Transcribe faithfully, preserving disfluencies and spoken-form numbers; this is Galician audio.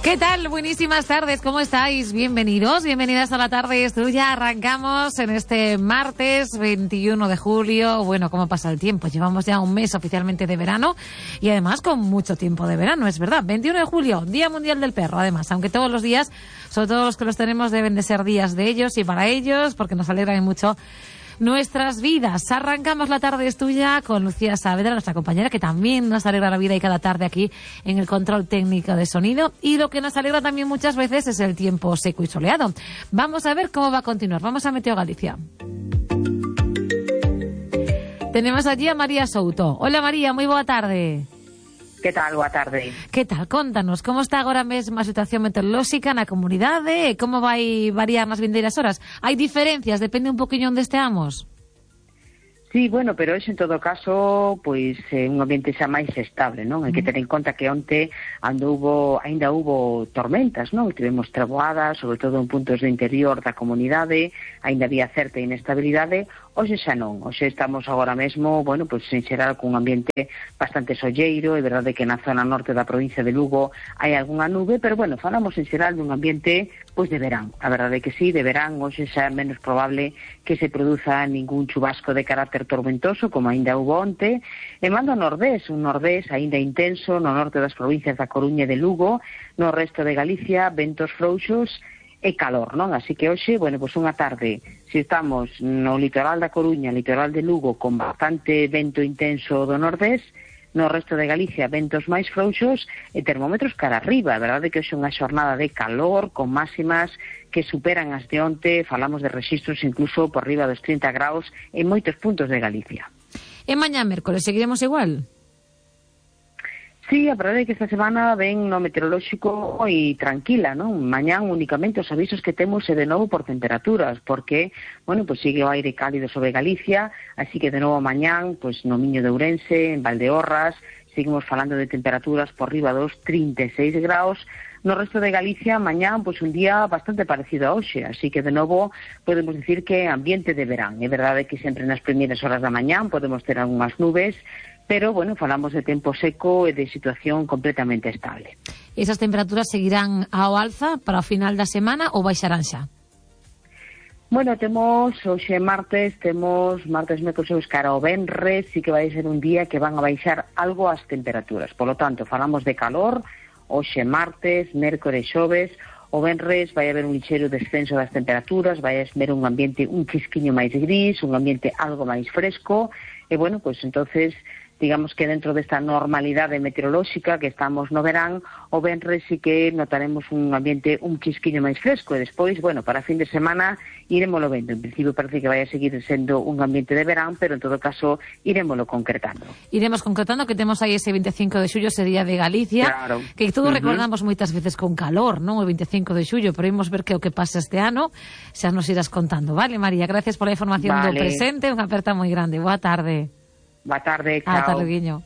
¿Qué tal? Buenísimas tardes, ¿cómo estáis? Bienvenidos, bienvenidas a La Tarde es Tuya. Arrancamos en este martes veintiuno de julio. Bueno, ¿cómo pasa el tiempo? Llevamos ya un mes oficialmente de verano y además con mucho tiempo de verano, es verdad. veintiuno de julio, Día Mundial del Perro, además, aunque todos los días, sobre todo los que los tenemos, deben de ser días de ellos y para ellos, porque nos alegran mucho nuestras vidas. Arrancamos La Tarde es Tuya con Lucía Saavedra, nuestra compañera, que también nos alegra la vida y cada tarde aquí en el control técnico de sonido. Y lo que nos alegra también muchas veces es el tiempo seco y soleado. Vamos a ver cómo va a continuar. Vamos a Meteo Galicia. Tenemos allí a María Souto. Hola María, moi boa tarde. Que tal? Boa tarde. Que tal? Contanos, como está agora mesmo a situación meteorolóxica na comunidade? Como vai variar nas vindeiras horas? Hai diferencias? Depende un poquinho onde esteamos? Sí, bueno, pero hoxe en todo caso, pois é un ambiente xa máis estable, non? Hai que ter en conta que onte ando hubo, ainda hubo tormentas, non? Tivemos treboadas, sobre todo en puntos do interior da comunidade, ainda había certa inestabilidade. Hoxe xa non, hoxe estamos agora mesmo, bueno, pois en xeral cun ambiente bastante solleiro. É verdade que na zona norte da provincia de Lugo hai algunha nube, pero bueno, falamos en xeral dun ambiente pois de verán. A verdade é que sí, de verán, hoxe xa é menos probable que se produza ningún chubasco de carácter tormentoso, como ainda hubo onte. E mando ao nordés, un nordés ainda intenso no norte das provincias da Coruña e de Lugo, no resto de Galicia, ventos frouxos e calor, non? Así que hoxe, bueno, pois unha tarde, se estamos no litoral da Coruña, litoral de Lugo, con bastante vento intenso do nordés, no resto de Galicia ventos máis frouxos e termómetros cara arriba. A verdade é que hoxe é unha xornada de calor con máximas que superan as de onte. Falamos de rexistros incluso por riba dos trinta graus en moitos puntos de Galicia. E mañá mércoles seguiremos igual? Sí, a verdade é que esta semana ven no meteorolóxico e tranquila, non? Mañán únicamente os avisos que temos é de novo por temperaturas, porque, bueno, pois sigue o aire cálido sobre Galicia, así que de novo mañán, pois no Miño de Ourense, en Valdeorras, seguimos falando de temperaturas por riba dos trinta e seis graus. No resto de Galicia, mañán, pois un día bastante parecido a hoxe, así que de novo podemos dicir que ambiente de verán. É verdade que sempre nas primeiras horas da mañán podemos ter algunhas nubes, pero, bueno, falamos de tempo seco e de situación completamente estable. Esas temperaturas seguirán ao alza para o final da semana ou baixarán xa? Bueno, temos, hoxe martes, temos martes, mércoles, cara ao venres, sí que vai ser un día que van a baixar algo as temperaturas. Por lo tanto, falamos de calor, hoxe martes, mércoles, xoves, o venres vai haber un lixeiro descenso das temperaturas, vai haber un ambiente un chisquiño máis gris, un ambiente algo máis fresco, e bueno, pois entonces digamos que dentro desta normalidade meteorolóxica que estamos no verán, o venres sí que notaremos un ambiente un chisquiño máis fresco e despois, bueno, para fin de semana iremoslo vendo. En principio parece que vai a seguir sendo un ambiente de verán, pero en todo caso iremoslo concretando. Iremos concretando que temos aí ese veinticinco de xullo, ese día de Galicia, claro, que todos uh-huh. recordamos moitas veces con calor, non? O veinticinco de xullo, pero imos ver que o que pasa este ano, xa nos irás contando. Vale, María, gracias pola información vale. do presente, unha aperta moi grande. Boa tarde. Boa tarde, chao. Ata loguiño.